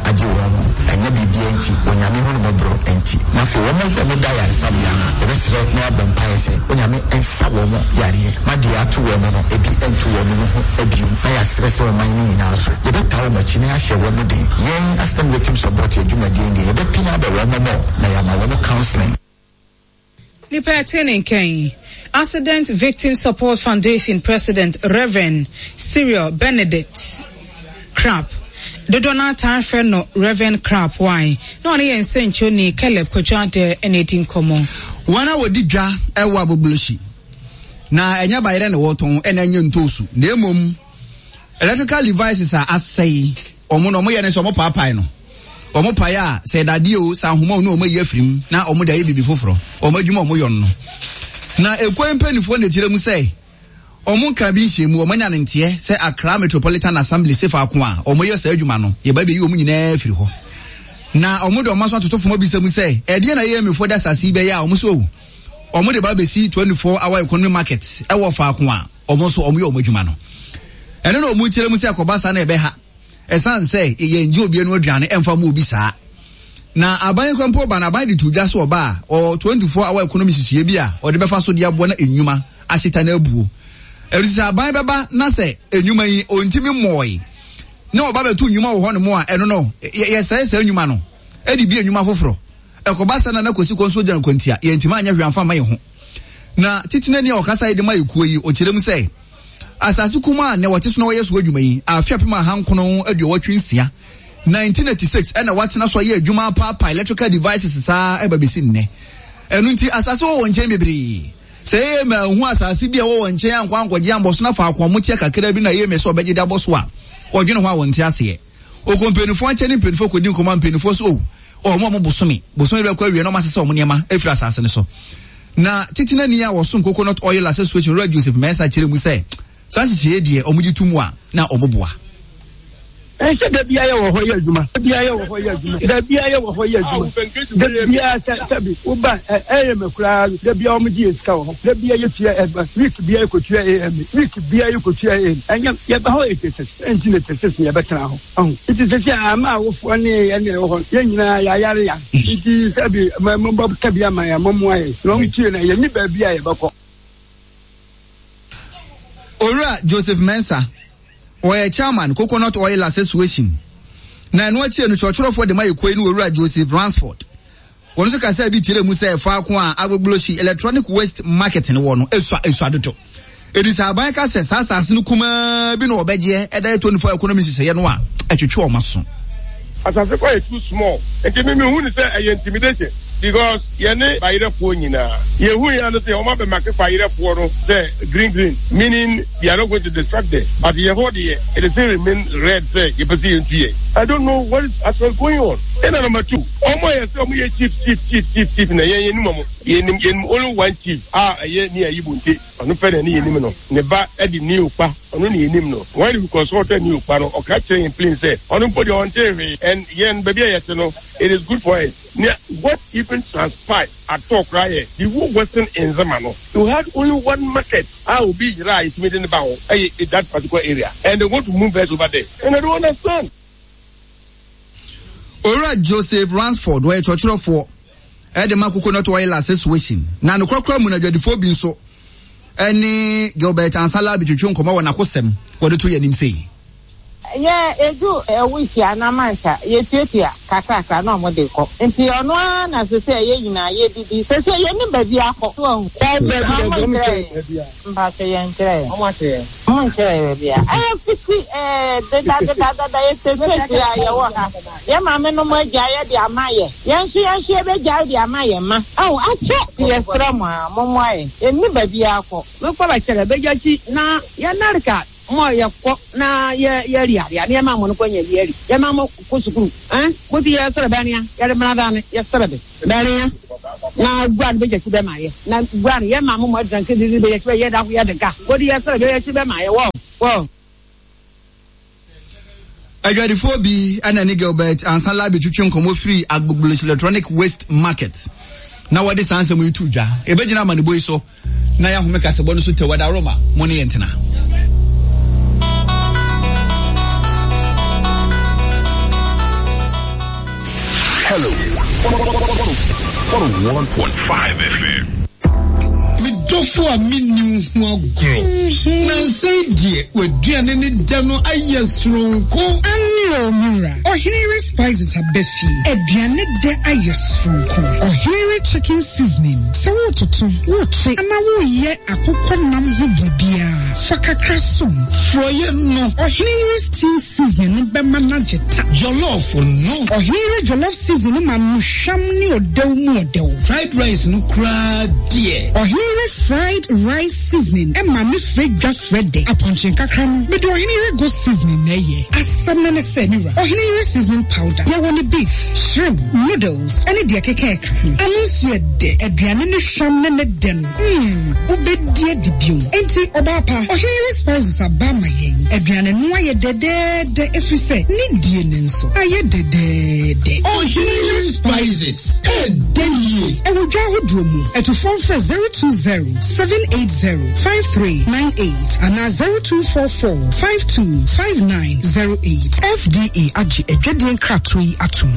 agye wɔn mo. Ɛnyɛ biribiara nti, Onyame hunummɔborɔ nti. Na afei wɔn nso a wɔda ayaresabea no, yɛbɛsrɛ na yɛabɔ mpaeɛ sɛ Onyame nsa wɔn yareɛ, ma deɛ ato wɔn no, ebi nto wɔn no ho bio. Na yɛasrɛ sɛ ɔman no nyinaa nso, yɛbɛtaa wɔn akyi na yɛahyɛ wɔn den. Yɛn Asɛm Victim Support adwumadie yi deɛ, yɛbɛpini abɔ wɔn mmɔ na yɛama wɔn counseling. Nipa ɛte ne nka yi, Accident Victim Support Foundation President Rev. Cyril Benedict Crap, dodoɔ no ara taa frɛ no Rev. Crap Y, na ɔne yɛn nsɛnkyerɛwni Caleb Kwadwo Adare na edi nkɔmmɔ. Wɔn a wɔdi dwa wɔ Agbogbloshie, na ɛnyɛ bayerɛ na wɔtɔn ɛna ɛnyɛ ntoosu na mmom electrical devices a asɛe wɔn na wɔyɛ ne sɛ wɔpaapae no. Wɔn pae a, sɛ dadeɛ o, sɛ ahoma o, na wɔn ayi afiri mu na wɔn de ayɛ biribi foforɔ. Wɔn adwuma a wɔyɔ no no. Na ekuo yi mpanimfoɔ na ɛkyerɛ mu sɛ wɔn nka bi nhyɛ mu, wɔn anya ne nteɛ sɛ Accra Metropolitan Assembly se faako a wɔyɛ saa adwuma no, yɛba bɛyi wɔn nyinaa afiri hɔ. Na wɔn de wɔn aso atoto fam abisa mu sɛ, ɛdeɛn na AMA foɔ de asase yi bɛyɛ a wɔn so wɔn de ba bɛsi 24 hour economy market ɛwɔ faako a wɔn nso wɔyɛ wɔn adwuma no. Ɛno na wɔn kyerɛ mu sɛ ɛkɔba saa na ɛbɛha. Ɛsiane sɛ yɛngye obi ano aduane ɛmfa mma obi saa. Na aban kura mpo ba no aban de to dwa sɛ ɔba a ɔwɔ 24 hour economy nhyehyɛeɛ bi a ɔde bɛfa so de aboa na nnwuma ahyeta no abuo. Ɛno nti sɛ aban bɛba na sɛ nnwuma yi ɔntumi mmɔɔe na ɔba bɛto nnwuma wɔ hɔnom a ɛno no yɛsɛe saa nnwuma no de bie nnwuma foforɔ. Ɛkɔba saa na na Kwasi Kɔnso gyina kwantia yɛntumi anyɛ hwee amfa amma yɛn ho. Na titenani a ɔkasa yi de ma ekuo yi ɔkyerɛ mu sɛ Asase kumaa a nnɛ wɔte so na wɔyɛ so adwuma yi, afe 1986, 1986, na wɔatena so ayɛ adwuma apaapae electrical devices saa ɛba besi nnɛ. Ɛno nti, asase wɔ wɔn nkyɛn bebree. Sɛ ɛyɛ ma ehu asase bi a ɛwɔ wɔn nkyɛn ankɔ ankɔgye ambɔ so na faako a wɔteɛ kakra bi na ɛyɛ ma sɛ wɔbɛgye de abɔ so a, wɔdwene ho a wɔnte aseɛ. Ɔkɔ mpanimfoɔ nkyɛn ne mpanimfoɔ kɔdi nkɔmmɔ a mpanimfoɔ so oh, wɔn a wɔn bosome, bosome bɛkɔ awie na wɔn asesa wɔn nneɛma afiri asase no so. Na titenani a wɔsom Coconut Oil Association Owura Joseph Mensah kyerɛ mu sɛ saa nhyehyɛeɛ deɛ wɔn gye to mu a na wɔn boa. Ɛsɛ da biara yɛwɔ hɔ yɛ adwuma. Da biara yɛwɔ hɔ yɛ adwuma. Da biara yɛwɔ hɔ yɛ adwuma. Da biara sɛ sɛbi woba ɛyɛ mɛ koraa da biara wɔn gye yɛ sika wɔ hɔ. Da biara yɛtua ɛba week biara yɛkɔtua AMA week biara yɛkɔtua AMA ɛnyɛ yɛba hɔ 86 ɛnti na 86 na yɛbɛtena hɔ. Ɔho nti sɛsi a ama awofoɔ ne yɛn na ɛwɔ hɔ yɛn nyinaa yɛayare ya nti sɛbi mobɔ ka bi ama yɛn mommoa yɛn na wɔn tie na yɛnni baabi a yɛbɛkɔ. Owura Joseph Mensah, ɔyɛ Chairman, Coconut Oil Association, na ɛno akyire no kyerɛkyerɛfoɔ de ma ekuo yi ne Owura Joseph Ransford. Wɔn nso kasaa bi kyerɛɛ mu sɛ faako a Agbogbloshie Electronic Waste Market no wɔ no esua esua dodo. Enti sɛ aban ka sɛ saa asase no kumaa bi na wɔbɛgyeɛ ɛda yɛ 24 economy nhyehyɛeɛ no a, ɛtwetwe wɔn aso. Asase kɔ yɛ too small nti me mehu no sɛ ɛyɛ intimidation because yɛne bayerɛfoɔ nyinaa yɛhu yɛn ano sɛ wɔn abɛ make bayerɛfoɔ no sɛ green green meaning they are not going to destruct there but yɛ hɔ deɛ it still remain red sɛ yɛpɛ sɛ yɛntu yɛn I don't know what is actually going on ɛna number two wɔn a yɛ sɛ wɔn yɛ chief chief chief chief chief na yɛn yɛnim wɔn yɛnim yɛnim only one chief a ɛyɛ ne ayi bonte ɔno pɛ na ɛne yɛnim no ne ba ɛde ne okpa ɔno ne yɛnim no when we consulted ne okpa no ɔka kyerɛ yɛn plain sɛ ɔno mpo deɛ ɔnte hwee and yɛn baabi a yɛte no it is good for us nea what even transpired at all koraa yɛ the whole western nzema no you had only one market a obi yera a yɛtumi de ne ba hɔ ɛyɛ that particular area and they want to move us over there and I don't understand. Owura Joseph Ransford, ɔyɛ kyerɛkyerɛfoɔ de ma Coconut Oil Association, na nokorakora mu no adwadifoɔ bi nso ne Gilbert Ansah-Larbi twetwe nkɔmmɔ wɔ n'akosɛm wɔde to yɛn anim sei. Yɛ edu ɛwusi anaa mansa yɛ tuatua kakrakra na ɔmo de kɔ nti ɔno ara na sesei yɛ nyinaa yɛ didi sesei yɛ nim baabi akɔ so wahu ɔmo nkyerɛ yɛn mpakyɛ yɛn nkyerɛ yɛn ɔmo nkyerɛ yɛn baabi a ɛyɛ fiti ɛɛ deda deda dada yɛ sesei a yɛ wɔ ha yɛ maame nom agyae yɛ de ama yɛ yɛn nso yɛn nso yɛ bɛ gyae de ama yɛn mma ɛho akyɛ yɛ srɛ mo a mo moa yɛn yɛ nni baabi akɔ. Mekɔ bɛkyerɛ bɛgya kyi na yɛ narka mɔ yɛ kɔ na yɛ yɛ ri aria ne yɛ ma mɔ no kɔ nyɛ yɛ ri yɛ ma mɔ kɔ sukuru ɛn mo ti yɛ srɛ bɛ nea yɛ de mra da ne yɛ srɛ bɛ bɛ nea na gua no bɛ gya kyi bɛ ma yɛ na gua no yɛ ma mo mɔ dran ke di bɛ yɛ kyi bɛ yɛ da yɛ de ka ko di yɛ srɛ bɛ yɛ kyi bɛ ma yɛ wɔ wɔ. Adwadifoɔ bi na ne Gilbert Ansah-Larbi twetwe nkɔmmɔ firi Agbogblosh Electronic Waste Market na wɔde saa nsɛm yi to dwa. Yɛbɛgyina amanebɔ yi so na yɛahome kasɛbɔ no so tɛwada Roma mo ne yɛn tena. Hello 101.5 FM. Me dɔfo a menni wo ho agorɔ. Nnansa yi deɛ w'aduane ne dɛ no ayɛ soronko. Aane o me wura, Ɔhene Yere Spices aba fie. Aduane dɛ ayɛ soronko. Ɔhene Yere Chicken Seasoning, sɛ woretoto, worekye anaa woreyɛ akokɔ nam ho biribiara, fa kakra som. Frɔeɛ no. Ɔhene Yere Stew Seasoning no bɛma no agye ta. Jollof no. Ɔhene Yere Jollof Seasoning no ma no hwam ne ɔdɛw mu ɔdɛw. Fried rice no koraa deɛ. Ɔhene Yere Fried Rice Seasoning ma ne frɛ dwa frɛ dɛ. Apɔnkye nkakra no, mede Ɔhene Yere Goat Seasoning na ɛyɛ. Asɛm no ne sɛ, me wura, Ɔhene Yere Seasoning Powder, yɛwɔ no beef, shrimp, noodles, ne deɛ ɛkeka ɛka ho. Ano nso yɛ dɛ. Aduane no hwam ne ne dɛ no, mm, wobɛdi adi bio. Enti, ɔbaa pa, Ɔhene Yere Spices aba ama yɛn. Aduane no ayɛ dɛdɛɛdɛ ɛfiri sɛ ne die no nso ayɛ dɛdɛɛdɛ. Ɔhene Yere Spices, ɛɛdɛ yie. Ɛwɔ dwa ahodoɔ mu. Atufoɔ mfrɛ 020 780 5398 anaa 0244 525908. FDA agye adwadie nkratoɔ yi atom.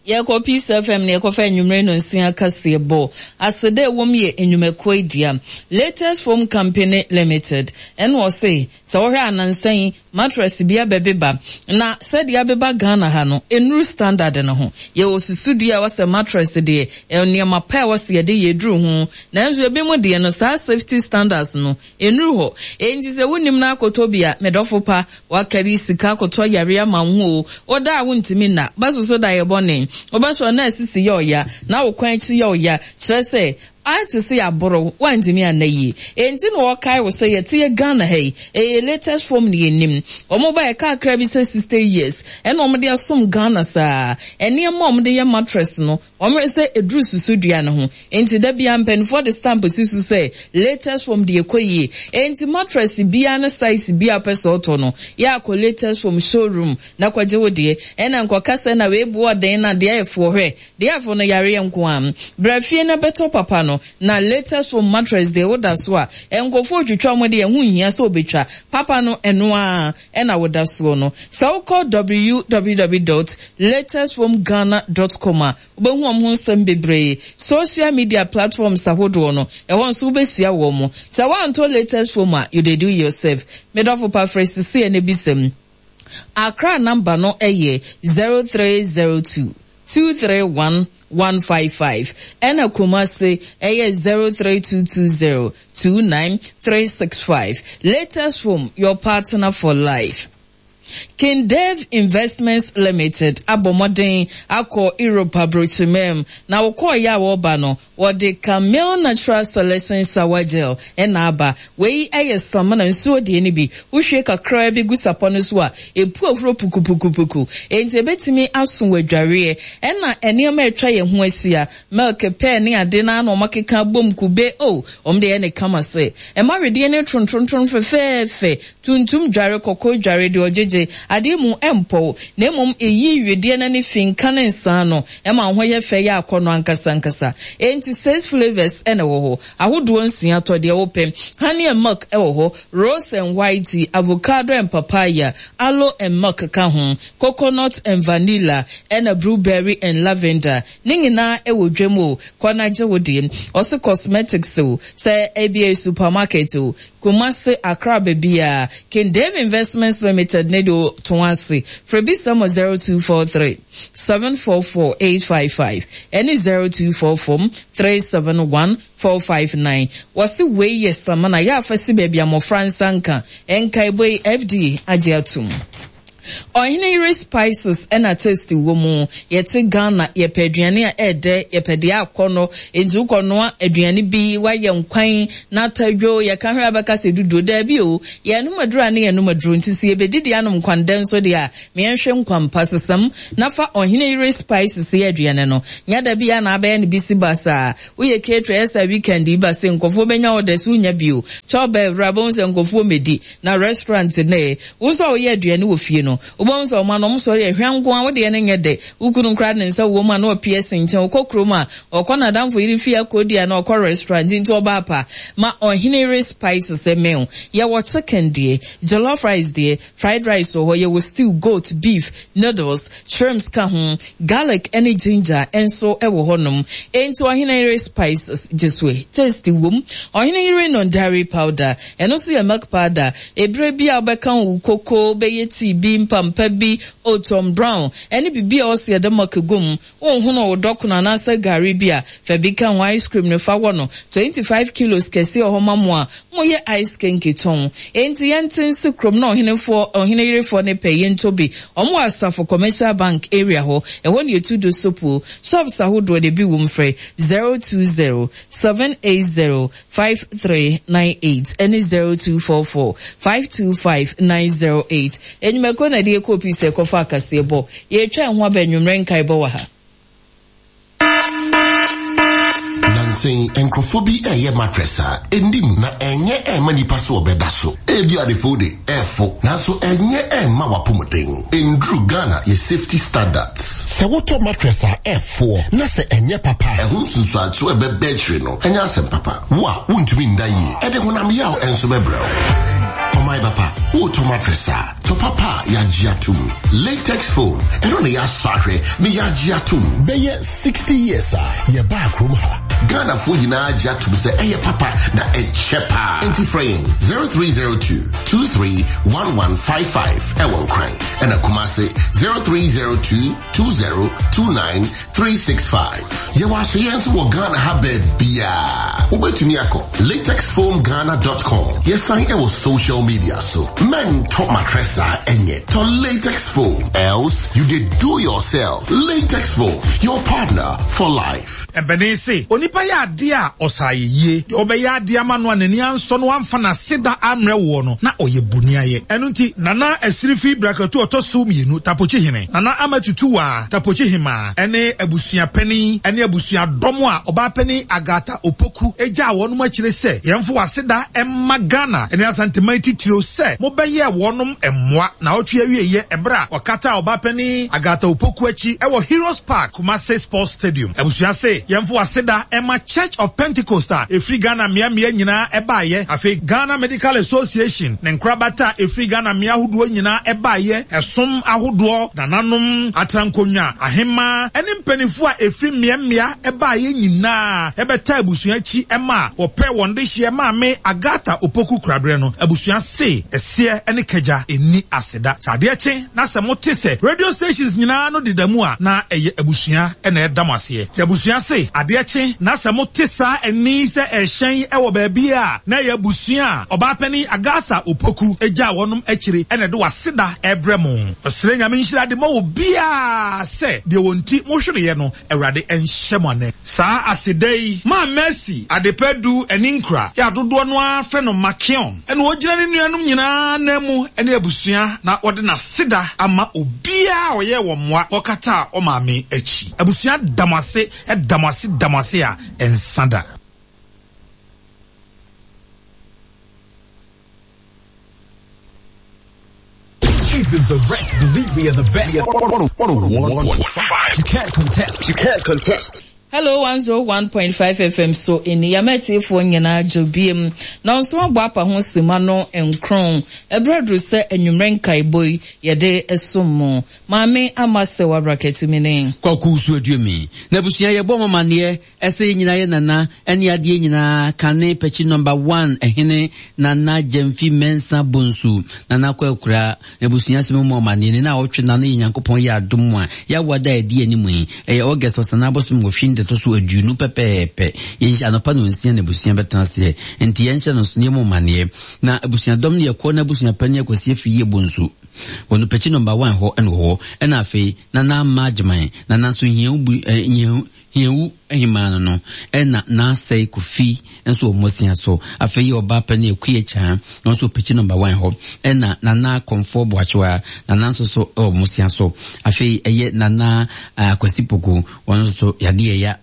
Yɛkɔ Peace FM na yɛkɔfa anwummere nnɔnsia kaseɛbɔ. Aseda a ɛwom yɛ nnwumakuo yi dea. Latest Foam Company Limited ɛna ɔse sɛ wohwɛ a nansa yi mattress bi abɛbeba na sɛdeɛ abeba Ghana ha no ɛnnuru standard no ho. Yɛwɔ susudua a ɛwɔ sɛ mattress deɛ nneɛma pa a ɛwɔ sɛ yɛde yɛ ɛduru ho nanso ebinom deɛ no saa safety standards no Nnuru hɔ. Enti sɛ wonnim na akɔtɔ bi a, me dɔfo pa, woakari sika akɔtɔ yareɛ ama wo ho o, woda a wontumi nna, bɛsoso da yɛ bɔne, wobɛsɔre na asisi yɛ ɔya, na wo kɔn akyi yɛ ɔya, kyerɛ sɛ, ayɛ te sɛ yɛaboro wo, woantumi anna yie. Enti na wɔkae wo sɛ yɛte yɛ Ghana ha yi, ɛyɛ latest form na yɛnnim. Wɔn baeɛ kakra bi sɛ 60 years ɛna wɔde asom Ghana saa. Nneɛma a wɔde yɛ mattress no, Wɔhwɛ sɛ ɛduru susudua no ho. Enti da biara mpanimfoɔ de stamp si so sɛ latest form deɛ ɛkɔ yie. Enti mattress biara ne size biara a wopɛ sɛ wotɔ no, yɛ a kɔ latest form showroom na kɔgye wo deɛ. Ɛna nkɔka sɛ na wei boɔ den na deɛ ɛfoɔ hwɛ. Deɛ ɛfo no yareɛ nko ara. Bra fie na bɛtɔ papa no. Na latest form mattress deɛ woda so a, nkurɔfoɔ retwitwa wɔn deɛ ɛho nhia sɛ wɔbɛtwa. Papa no ɛno ara. ɛna woda soɔ no. Sɛ wokɔ www dot latestfoamghana dot com a, wobɛhu wɔn ho nsɛm bebree. Social media platforms ahodoɔ no, ɛhɔ nso wobɛhyia wɔn. Sɛ woantɔ latest foam a, you dey do yourself. Me dɔfo pa frɛ sisiɛ na bisa mu. Accra number no yɛ 0302 231 155 ɛna Kumasi ɛyɛ 03220 29365. Latest Home, your partner for life. King Dave Investments Limited abɔ mmɔden akɔ Europe aburokyiman mu, na wɔkɔeɛ a wɔreba no, wɔde Camille Natural Selection Shower Gel na aba. Wei yɛ samina nsuo deɛ no bi. Wohwie kakraa bi gu sapɔ no so a, ɛpu ahuro pukupukupuku. Enti ɛbɛtumi aso wo adwareɛ. Ɛna nneɛma a atwa yɛn ho ahyia, Milk, pɛɛ ne ade no ara na wɔakeka abom, kube, oh, wɔn de ayɛ no kama sɛ ɛma wedeɛ no trontrontron fɛfɛɛfɛ, tuntum dware, kɔkɔɔ dware, deɛ ɔgyegye adeɛ mu ɛmpɔw, na mmom ɛyi wedeɛ no ani fi nka ne nsa ano, ɛma wo ho yɛ fɛ yɛ akɔnnɔ ankasa ankasa. Enti six flavours na ɛwɔ hɔ, ahodoɔ nsia, tɔ deɛ wopɛ. Honey and milk wɔ hɔ, rose and white tea, avocado and papaya, aloe and milk ka ho, coconut and vanilla, ɛna blueberry and lavender. Ne nyinaa ɛwɔ dwam o, kɔ na gye wo deɛ. Ɔse cosmetics o, sɛ ebia supermarket o, Kumasi, Accra baabiaa. King Dave Investments Limited ne deɛ ɔtɔn ase. Frɛ bisa mo 0243 744 855 ɛne 0244 371 459. Wɔse wei yɛ samina yɛ afa si baabi a mmɔfra nsa nka. Nkaebɔ yi FDA agye atom. Ɔhene yere spices ɛna taste wɔ mu. Yɛte Ghana yɛpɛ aduane a ɛɛdɛ, yɛpɛ deɛ akɔnɔ. Enti wokɔ noa aduane bi, woayɛ nkwan na atadwo, yɛka hwɛ a bɛka sɛ duduo. Daabi o, yɛnom aduro a ne yɛnom aduro. Nti sɛ yɛbɛdidi anom nkwandɛ nso deɛ a, ma yɛnhwɛ nkwan pa. Sesam na fa ɔhene yere spices yɛ aduane no. Nyɛ da biara na abɛyɛ no bisi basaa. Woyɛ caterer ɛyɛ saa weekend yi ba sei nkurɔfoɔ bɛnya orders wonnya bio. Kyɛw bɛɛ wura bɛhu sɛ nkurɔfoɔ mmɛdi. Na restaurant nnɛ, wo nso a woyɛ aduane wɔ fie no, no. Wobɛhu sɛ ɔma no, wɔsɔre a, hwa nko ara, wo deɛ no nyɛ dɛ. Wo kunu koraa de ne nsa wɔ mu a na ɔpie si nkyɛn. Ɔkɔ kurom a, ɔkɔ n'adamfo yere fie akɔdi anaa ɔkɔ restaurant nti ɔbaa pa. Ma ɔhene yere spices mmɛn wo. Yɛwɔ chicken deɛ, jollof rice deɛ, fried rice wɔ hɔ, yɛwɔ stew, goat, beef, noodles, shrimps ka ho, garlic ne ginger nso wɔ hɔnom. Enti ɔhene yere spices gye so ɛ. Taste wom. Ɔhene yere nondari powder, ɛno nso yɛ milk powder. Ebere bi a wobɛka wo koko, wobɛyɛ tea bi, mpampa bi, oat Tom Brown, ɛne biribi a ɔse yɛde milk gu mu. Wonhono wo dɔkono anaasɛ gari bi a, fa bi ka ho. Ice cream no fa wɔ no 25 kilos kɛseɛ wɔ hɔ ma mo a moyɛ ice kenke tɔn. Enti yɛnte nse kurom na ɔhenefoɔ, ɔhene yerefoɔ no pɛ yɛntɔ bi. Wɔn wɔ Asafo Commercial Bank area hɔ. Ɛhɔ na yɛtu do sopuo. Shops ahodoɔ no ebi wom frɛ 020 780 5398 ɛne 0244 525 908. Enyimako na ɛde yɛkɔɔ pii sɛ ɛkɔfa akaseɛ bɔ. Yɛretwa ɛho aba anwummerɛ nkaebɔ wɔ ha. Nansa yi, nkurɔfoɔ bi reyɛ mattress a ɛnni mu na ɛnyɛ ɛmma nnipa sɛ wɔbɛda so. Ebia adefo de, ɛfo, nanso ɛnyɛ ɛmma w'apɔmuden. Ɛnduru Ghana yɛ safety standards. Sɛ wotɔ mattress a ɛfoɔ na sɛ ɛnyɛ papa a, ɛho nsunsuansoɔ a ɛbɛba akyire no nyɛ asɛm papa. Wo a wontumi nna yie, ɛde honam yaw nso bɛbrɛ wo. Ɔman papa, woretɔ mattress a, tɔ papa a yɛagye atom. Latex foam, ɛno na yɛasɔ ahwɛ na yɛagye atom. Bɛyɛ 60 years a yɛbaa kurom ha. Ghanafoɔ nyinaa agye atom sɛ ɛyɛ papa na ɛkyɛ paa. Enti frɛ yɛn 0302 231155 ɛwɔ Nkran ɛna Kumase 0302 2029365. Yɛwɔ asoyɛ nso wɔ Ghana ha baabiaa. Wobɛtumi akɔ latexfoamghana.com. Yɛsan ɛwɔ social media so. Mɛntɔ mattress a ɛnyɛ. Tɔ latex foam. Else you dey do yourself. Latex foam, your partner for life. Ɛbɛne se, onipa yɛ adeɛ a, ɔsɛ ayɛyie. Deɛ wobɛyɛ adeɛ ama no a n'ani ansɔ na wamfa n'aseda ammrɛ woɔ no, na ɔyɛ boniayɛ. Ɛno nti, Nana Asirifi Brakatu ɔtɔ so mmienu, Tapokyi hene, Nana Ama Tutuwaa, Tapokyi hemaa, ɛne abusua panin ne abusua dɔm a Ɔbaapanin Agatha Opoku gyaa wɔnom akyire sɛ, Yɛmfa w'aseda mma Ghana ne Asanteman titiriw sɛ mobɛyɛɛ wɔnom mmoa naawɔtwe awieeɛ ɛberɛ a wɔkataa Ɔbaapanin Agatha Opoku akyi wɔ Heroes Park, Kumasi Sports Stadium. Abusua se yɛmfa w'aseda mma Church of Pentecost a ɛfiri Ghana mmeammea nyinaa baeɛ, afei Ghana Medical Association ne nkorabata a ɛfiri Ghana mmea ahodoɔ nyinaa baeɛ, ɛsom ahodoɔ, nananom, atrankonnwa, ahemmaa ne mpaninfoɔ a ɛfiri mmeammea baeɛ nyinaa bɛtaa abusua akyi maa wɔpɛɛ wɔn dehyeɛ Maame Agatha Opoku Koraberɛ no. Abusua se ɛseɛ ne kagya nni aseda. Sɛ adeɛ kye na sɛ mote sɛ radio stations nyinaa no deda mu a, na ɛyɛ abusua na ɛda mo aseɛ. Sɛ abusua se adeɛ kye na sɛ mote saa ɛnne yi sɛ ɛrehyɛn wɔ baabi a, na ɛyɛ abusua a Ɔbaapanin Agatha Opoku gyaa wɔnom akyire na ɛde w'aseda rebrɛ mo. Ɔsrɛ Nyame nhyira de ma obiara sɛ deɛ wɔn nti mohwereɛ no, Awurade nhyɛ mo anan. Saa aseda yi maa Mercy Adepa Du Aninkura a dodoɔ no ara frɛ no Makeon na ɔgyina ne nuanom nyinaa ananmu ne abusua na wɔde n'aseda ama obiara a ɔyɛɛ wɔn mmoa kɔkataa ɔmaame akyi. Abusua da mo ase, da mo ase, da mo ase a ɛnsa da. Even the rest believe we are the best. 101.5. You can't contest. You can't contest. Hello 101.5 FM so ɛni yɛma atiefoɔ nyinaa dwo biem na nso abɔ apa ho sima no nkron ɛberɛ aduru sɛ anwummerɛ nkaebɔ yi yɛde som mo maame ama sɛ wabrakatumi ne Kwaku so aduomi na abusua yɛbɔ mo amaneɛ Ɛsɛ yɛn nyinaa yɛ Nana ɛne adeɛ nyinaa kane pɛkyi number one ɛhene Nana Gyamfi Mensah Bonsu Nana kɔ akura n'abusua sɛ memu amaneɛ ne naawɔtwe nano yɛ Nyankopɔn yɛ adom a yɛawa da a ɛdi anim yi ɛyɛ August ɔsana abosom nwɔtwe ne ɛtɔ so aduonu pɛpɛɛpɛ yɛnhyɛ anɔpa nonsia na abusua bɛtena aseɛ nti yɛnhyɛ no nso na yɛmu amaneɛ na abusuadɔm no yɛkɔ na abusua panin Akwasi Afriyie Bonsu wɔ no pɛkyi number one hɔ ɛna wɔ hɔ ɛna afei Nana Ama Agyeman Nana nso hia wo bu eh, hia Hiawu hemaa no no na n'asɛe Kofi nso wɔ Mmosea so. Afei yɛ ɔbaa panin Akua Kyaa, ɔno nso wɔ Pekyi Nɔmba One hɔ. Ɛna Nana Kɔmfoɔ Boakyewa, Nana nso so wɔ Mmosea so. Afei ɛyɛ Nana Kwasi Poku, ɔno nso so yadeɛ ya.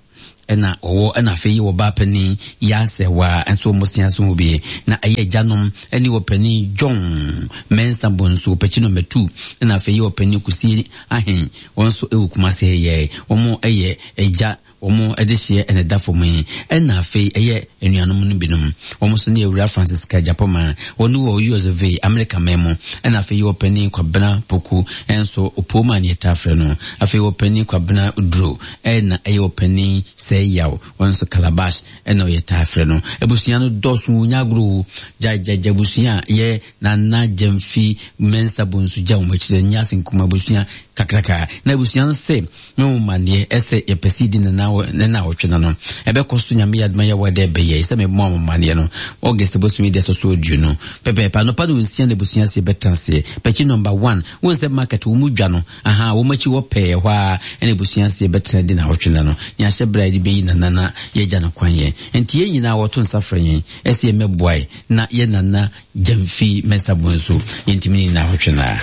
Ɛna ɔwɔ ɛna afei yɛ ɔbaa panin Yasɛwa nso wɔ Mmosea so hɔ bi. Na ɛyɛ agyanom ɛne ɔpanin John Mensah Bonsu Ɔpɛkyi nɔmba 2 ɛna afei yɛ ɔpanin Kusie Ahen wɔn nso ɛwɔ Kumase ha yi. Wɔn ɛyɛ agya wɔn ɛdehyeɛ ɛna ɛda fam yi. Ɛna afei ɛyɛ anuanom no binom wɔn nso ne Awura Francisca Gyapoma wɔn wɔ US of A, Amerika man mu. Ɛna afei yɛ ɔpanin Kwabena Poku ɛnso Opooma ne yɛtaa frɛ no. Afei ɔpanin Kwabena Duro Ɛna ɛyɛ ɔpanin sɛɛ yaw, ɔno nso calabash ɛna ɔyɛ taa frɛ no. Abusua no dɔɔso o, nyɛ agorɔ o. Gya gya gya abusua a yɛ Nana Gyamfi Mensah Bonsu gya wɔn akyi dɛ nyɛ ase nkum abusua kakraka. Na abusua no se me wo maneɛ ɛsɛ yɛpɛ sɛ yɛdi Nana wɔ ne naawɔtwe no no. Ɛbɛkɔ so Nyame yɛ adom a yɛwɔ dɛ ɛbɛyɛ sɛ me bɔ mo amaneɛ no August bosome deɛ ɛtɔ so aduonu pɛpɛɛpɛ anɔpa no nsia na abusua se yɛbɛtena aseɛ. Pɛkyi number one, wohu sɛ market wɔn mu dwa no Ahaa, wɔn akyi hɔ pɛɛ, ɛhɔ ara na abusua ase bɛtena di naawɔtwe nna no. Nea ahyɛ bere a yɛde beyi Nana na yɛagya no kwan yɛn. Enti yɛn nyinaa wɔto nsa frɛ yɛn sɛ yɛmmɛboae na yɛn Nana Gyamfi Mensah Bonsu yɛntumi nni naawɔtwe no ara.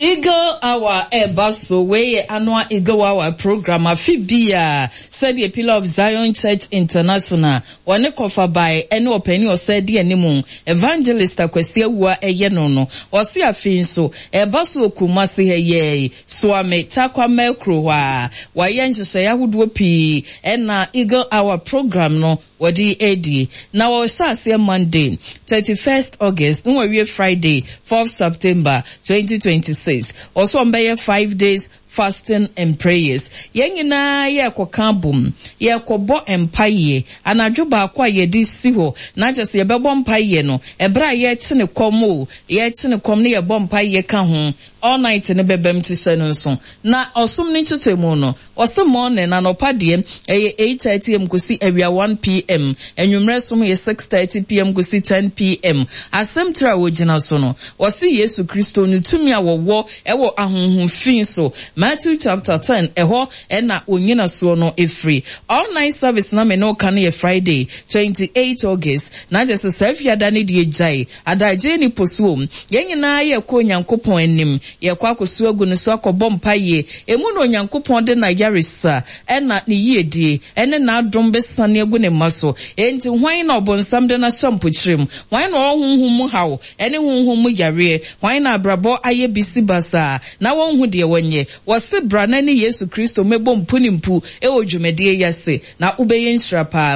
Eagle Hour ɛreba so, Wei yɛ annual Eagle Hour program afe biara sɛdeɛ Pillar of Zion Church International Wɔne Kɔfabae ne ɔpanin a ɔsan di anim, Evangelist Akwasi Awuah yɛ no no. Ɔse afei nso, ɛreba so wɔ Kumasi ha yi ara yi, Suame, Tarkwa Merkro hɔ ara. Wɔayɛ nhyehyɛeɛ ahodoɔ pii na Eagle Hour program no wɔde redi. Na wɔrehyɛ aseɛ Monday, 31st August na wɔawie Friday, 4th September, 2026. Ɔse wɔbɛyɛ five days Fasting and prayers. Yɛn nyinaa yɛrekɔka abom, yɛrekɔbɔ mpaeɛ. Anadwo baako a yɛde si hɔ, na kyerɛ sɛ yɛbɛbɔ mpaeɛ no, ɛberɛ a yɛrekyene kɔm o, yɛrekyene kɔm na yɛbɔ mpaeɛ ka ho, all night no bɛbam nti hyɛ no nso. Na ɔsom no nkyekyɛmu no, ɔse morning, anɔpa deɛ, ɛyɛ 8:30 am kɔsi awia 1 pm, anwummerɛ som yɛ 6:30 pm kɔsi 10 pm. Asɛm tire a wɔgyina so no, Wɔse Yesu Kristo no tumi a wɔwɔ wɔ ahonhom fi so, Matthew chapter ten, ɛhɔ na wɔn nyinasoɔ no firi. All night service na me ne wo ka no yɛ Friday, 28 August, na kyerɛ sɛ saa fiada no deɛ gyae, adagyeɛ nni po so o. Yɛn nyinaa yɛrekɔ Onyankopɔn anim, yɛrekɔ akɔsu agu ne so akɔbɔ mpaeɛ, ɛmu na Onyankopɔn de n'ayaresa ɛna ne yiedie ɛne n'adom bɛsane agu ne mma so. Enti hwan na ɔbonsam de no ahyɛ mpokyerɛ mu? Hwan na ɔwɔ honhom mu haw? Ɛne honhom mu yareɛ. Hwan na abrabɔ ayɛ bisi basaa na wɔnhu deɛ wɔnyɛ? Wɔse bra na ne Yesu Kristo mmɛbɔ mpu ne mpu wɔ dwumadie yi ase na wobɛyɛ nhyira paa.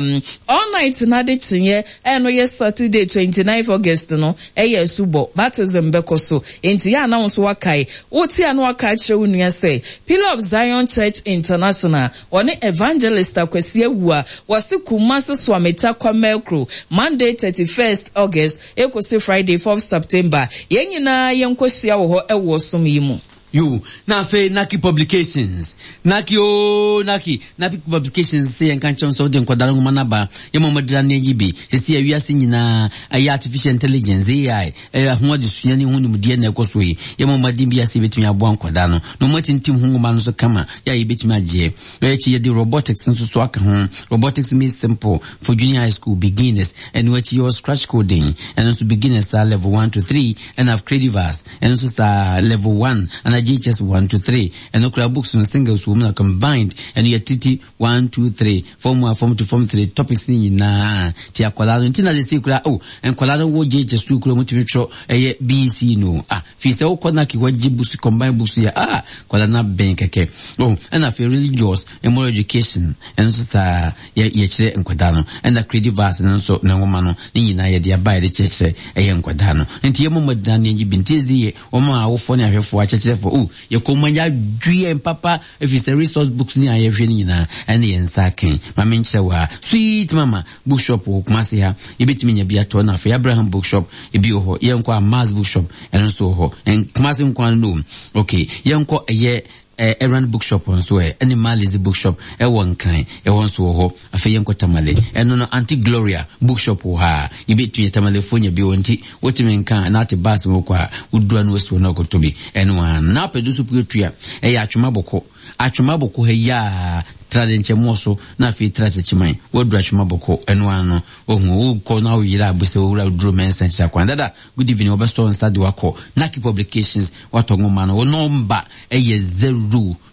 All night no adekyeeɛ a ɛno yɛ Saturday 29th August no yɛ asubɔ, baptism, bɛkɔ so. Enti yɛ a na wo nso woakae. Wote a na woaka akyerɛ wo nua sɛ Pillar of Zion Church International Ɔne Evangelist Akwasi Awuah wɔse Kumasi Soameta Kwamerkro, Monday 31st August ekosi Friday 4th September. Yɛn nyinaa yɛnkɔhyia wɔ hɔ wɔ ɔsom yi mu. Yo, na afei Naki Publications, Naki oo Naki, Naki Publications sɛ yɛnka nkyerɛ wo sɛ wode nkwadaa no nwoma no aba, yɛma wɔn adira ne ayi bi. Sɛsi a wiase nyinaa ɛyɛ artificial intelligence, AI, Ɛyɛ ho adesua ne ho nimdeɛ na ɛkɔ so yi. Yɛmmɔ mmɔden biara sɛ yɛbɛtumi aboa nkwadaa no na wɔatintim ho nwoma no so kama yɛ a yɛbɛtumi agyeɛ. Ɛno akyi yɛde robotics nso so aka ho, Robotics Made Simple for Junior High School Beginners. Ɛno akyi yɛwɔ Scratch Coding, ɛno nso beginners saa level 1 to 3, ɛna Creativerse, ɛno nso saa level 1 anaa JHS 1 to 3. Ɛno koraa books no singles wɔ mu na combined, ɛno yɛtete 1 2 3 form 1 form 2 form 3 topics ne nyinaa ti akwadaa no nti na sɛ kura oh nkwadaa no wɔ JHS 2 kura mu tumi twerɛ ɛyɛ BEC no ah fi sɛ wokɔ na kewa gye books combined books yɛ ah akwadaa no abɛn kɛkɛ oh ɛna afei religious and moral education ɛno nso saa yɛ yɛkyerɛ nkwadaa no ɛna creative arts no nso ne nwoma no ne nyinaa yɛde aba yɛde kyerɛkyerɛ ɛyɛ nkwadaa no nti yɛmmɔ mmɔden ne yɛgye bi nti ɛdi yɛ wɔn a awofoɔ ne ahwɛfoɔ akyerɛkyerɛfoɔ oh yɛkɔ mu yɛadwe yɛn papa Ɛfiri sɛ resource books ne a yɛhwɛ no nyinaa ɛne yɛn nsa aka Ma menkyerɛ wo ha. Sweet Mama bookshop wɔ Kumasi ha. Yɛbɛtumi anya bi atɔ na afei Abraham bookshop ebi wɔ hɔ. Yɛnkɔ Amaz bookshop ɛno nso wɔ hɔ. Kumasi nko ara no. Okay, yɛnkɔ ɛyɛ Erand bookshop nso ɛ ɛne Malizi bookshop ɛwɔ Nkran ɛhɔ nso wɔ hɔ. Afei yɛnkɔ Tamale ɛno no Auntie Gloria bookshop wɔ ha. Yɛbɛtumi Tamalefoɔ nya bi wɔ nti wotumi nka na ate bus mu kɔ a wodura no wasi hɔ na ɔkɔtɔ bi ɛno a na apɛ do so pue tua ɛyɛ atwoma bɔkɔ atwoma bɔkɔ ha yi a Tra de nkyɛ moɔ so na afei tra Techiman. Woaduru Atwema Bɔkɔ, ɛno ara no, wahu. Wokɔ na woyera a, bisa Owura Oduro Mensah kyerɛ kwan. Dada, good evening, wɔbɛsɔ wo nsa de wo akɔ Naki Publications, woatɔ nwoma no. Wo nɔmba yɛ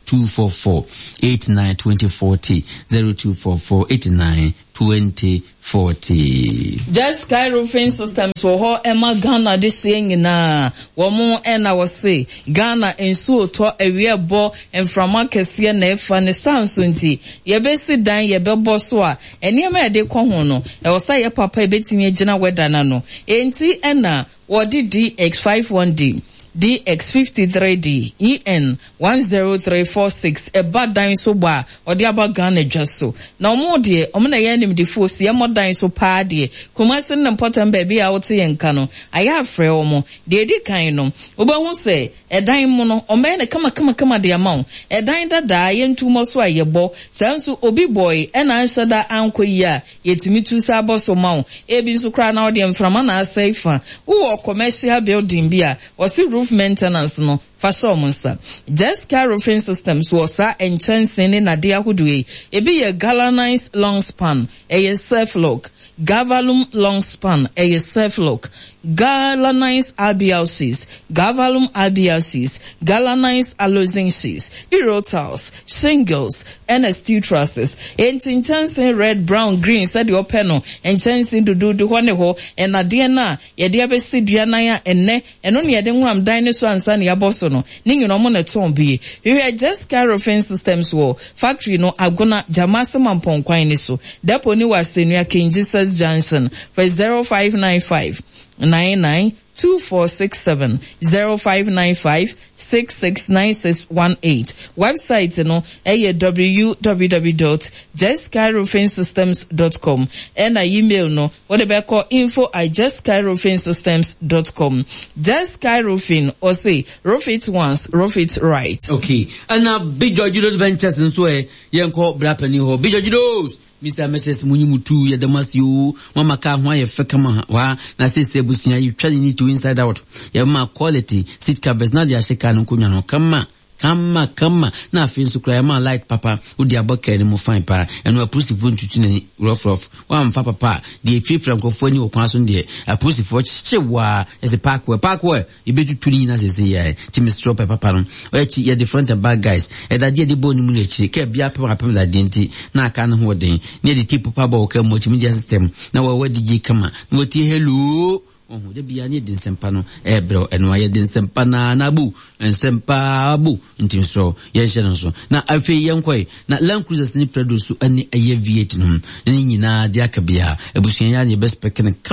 0244 89 2040, 0244 89 2040. Just Sky Roofing Systems wɔ hɔ ma Ghana adehyeɛ nyinaa. Wɔn na wɔse Ghana nsuo tɔ, awia bɔ, mframa kɛseɛ na ɛfa. Ne saa nso nti, yɛbɛsi dan, yɛbɛbɔ so a, nneɛma a yɛde kɔ ho no, ɛwɔ sɛ ɛyɛ papa a ɛbɛtumi agyina weather no ano. Enti na Wɔde DX51D, DX53D, EN10346 ba dan so bɔ a wɔde aba Ghana dwa so. Na wɔn deɛ, wɔn na ɛyɛ animdefoɔ si ɛmmɔ dan so paa deɛ. Kumasi ne ne mpɔtam baabi a wote yɛn nka no, ayɛ afrɛ wɔn. Deɛ ɛdi kan no, wobɛhu sɛ ɛdan mu no, wɔbɛyɛ no kamakamakama de ama wo. Ɛdan dadaa, yɛntu mmɔ so a yɛbɔ. Saa nso obi bɔe ɛna anhyɛ da ankɔ yie a, Yɛtumi tu sa bɔ so ma wo. Ebi nso koraa na wodeɛ mframa na asɛe fa. Wowɔ commercial building bi a, wɔse roof maintenance no, fa hyɛ wɔn nsa. Jessica Roofing Systems wɔ saa nkyɛnsee ne nnadeɛ ahodoɔ yi. Ebi yɛ galvanized long span, ɛyɛ self-lock. Galvalume long span, ɛyɛ self-lock. Galvanized RBL sheets, Galvalume RBL sheets, Galvanized Aluzinc sheets, Euro tiles, shingles, ɛna steel trusses. Enti nkyɛnsee red, brown, green sɛdeɛ ɔpɛ no, nkyɛnsee duduudu hɔ ne hɔ, nnadeɛ no a yɛde abɛsi dua nan a ɛnnɛ ɛno na yɛde nwam dan no so ansa na yɛabɔ so no, ne nyinaa wɔn na ɛtɔn bi. Hwehwɛ Jessica Roofing Systems wɔ factory no Agona, Gyamase Mampong kwan no so. Depot no wɔ Asɛnnua, King Jesus Junction. Frɛ 0595 99 2467 0595 669618. Wɛbsaet no yɛ www dot jeskyroofingsystems dot com ɛna email no wode bɛkɔ info at jeskyroofingsystems dot com. Jesky Roofing, ɔse roof it once, roof it right. Okay, ɛna Big George Road Ventures nso ɛ, yɛnkɔ bra panin hɔ. Big George Roads! Mister and Mrs munyi mo tuu yɛda mo ase oo moama car ho ayɛ fɛ kama waa na seesei abusua yɛtwa ne neat inside out yɛma quality seat covers na de ahyɛ car no nkonnwa no kama kama kama na afei nso koraa yɛma light papa wode abɔ car no mu fine paa ɛno apolisifoɔ ntutu n'ani rough rough woamfa papa a deɛ efirafira nkurɔfoɔ ani wɔ kwan so no deɛ apolisifoɔ kyekye waa ɛsɛ park wɛ park wɛ Yɛbɛtutu ne nyina sese yɛ nti mesrɛ wo pɛ papa no akyi yɛde front and back guys ɛdadeɛ yɛde bɔɔ ne mu no akyire kaa biara pem apem dadeɛ nti na aka ne ho ɔden ne yɛde tape papa bɔ wo kaa mu akyi media system na wawa DJ kama na watie hello ɔho da biara ne yɛde nsɛmpa no ɛbrɛ wo ɛno a yɛde nsɛmpa na na abu nsɛmpa abu nti mesrɛ wo yɛnhyɛ no nso na afei yɛnkɔe na Land Cruisers ne Prado so ɛne ɛyɛ V8 no ne nyinaa de aka biara abusua yɛ a ne yɛbɛspɛke no.